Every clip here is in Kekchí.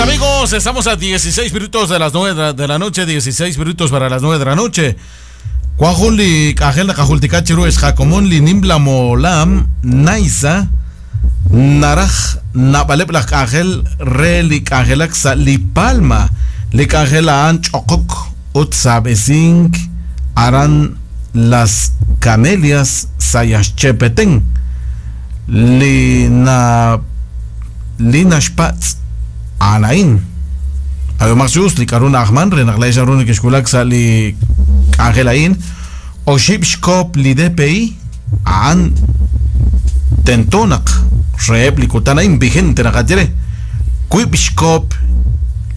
Amigos, estamos a 16 minutos de las 9 de la noche, 16 minutos para las 9 de la noche. Cuajun li k'ajel naqajultika chiru ex jakomon li nimla molam Naisa naraj nab'aleb' laj k'anjel re li k'anjelak sa' li Palma li k'anjel a'an ch'oqok ut saab'esink aran Las Camelias Sayaxche Petén li na li naxpatz' a'an a'in. Ab'ihomaq chi us li k'a'ru na'ajman re naq laa'ex naru nekexwulak sa' li k'anjel a'in, oxib' xkoop li DPI a'an tento naq reheb' li kutan a'in vigente naqaye re, wiib' xkoop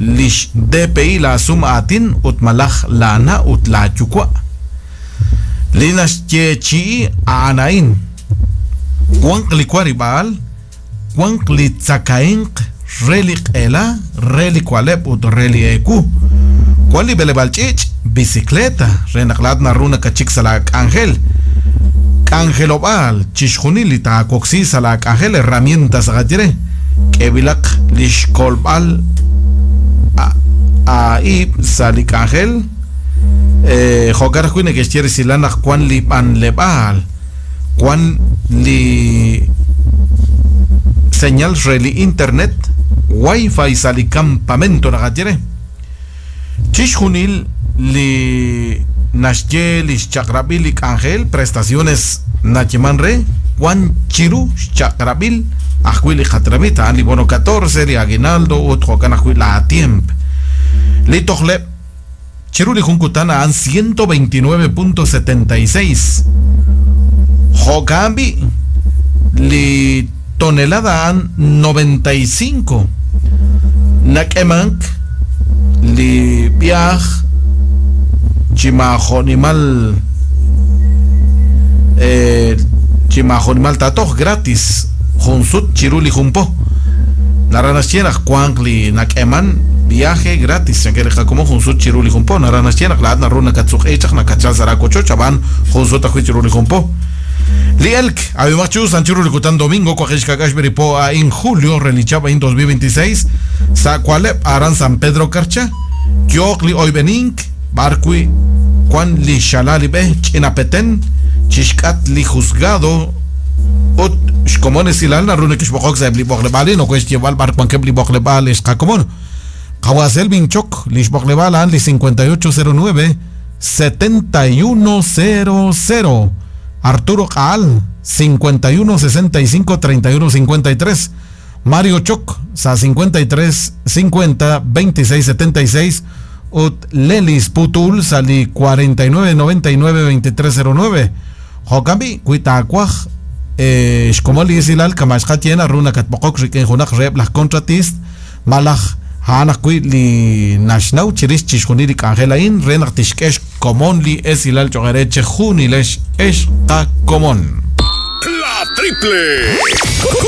lix DPI laa sum aatin ut malaj laa na' ut laa yuwa'. Li naxyeechi'i a'an a'in, wanq li warib'aal, wanq li tzakahemq re li q'ela, re li wa'leb' ut re li eewu. Wan li b'eleb'aal ch'iich', bicicleta, re naq laa'at naru nakatxik sa' laa k'anjel. K'anjelob'aal, chixjunil li taawoksi sa' laa k'anjel, herramientas naqaye re, k'eeb'ilaq li xkolb'al aa'ib' sa' li k'anjel. Jo'kan ajwi' neke'xye resilal naq wan li b'anleb'aal, wan li señal re li internet Wi-Fi sa' li campamento naqaye re. Chixjunil li naxye li xchaq'rab'il li k'anjel, prestaciones nayeman re, wan chiru xchaq'rab'il ajwi' li qatenamit, a'an li bono 14, li aguinaldo ut jo'kan ajwi' la tiemp. Li tojleb' chiru li jun kutan a'an 129.76. Jo'kan b'i' li tonelada a'an 95. Nak'emank li b'ihaaj chi maajo'nimal chi maajo'nimal taatoj, gratis, jun sut chiru li jun po. Naraj naxye naq wanq li nak'eman viaje gratis chankeb' li qakomon jun sut chiru li jun po. Naraj naxye naq laa'at naru nakatsuq'i chaq nakatchal sa' laawochoch ab'an jun sut ajwi' chiru li jun po. Li elk, ab'imaq chi us an chiru li kutan domingo waqib' xka'k'aal xb'e li po a'in julio re li chihab' a'in 2026 sa' wa'leb' aran San Pedro Carchá yooq li oyb'enink b'ar wi' wan li xala li b'e ch'ina Petén chi xk'at li juzgado ut xkomon esilal naru nekexb'oqok sa'eb' li b'oqleb'aal a'in ok xyeeb'al b'ar wankeb' li b'oqleb'aal ex qakomon. Qawa' Selvin Choc, li xb'oqleb'aal a'an li 5809 7100, Arturo Q'a'al 5165 3153, Mario Choc sa' 53 50 26 76 ut Lelis Putul sa' li 49 99 23 09. Jo'kan b'i', wi taawaj xkomon li esilal kama' xqaye naru nakatb'oqok rik'in junaq reheb' laj kontratist malaj a'an ajwi' li naxnaw chirix chixjunil li k'anjel a'in re naq tixk'e xkomon li esilal cho'q eere chejunilex ex qakomon. La Triple.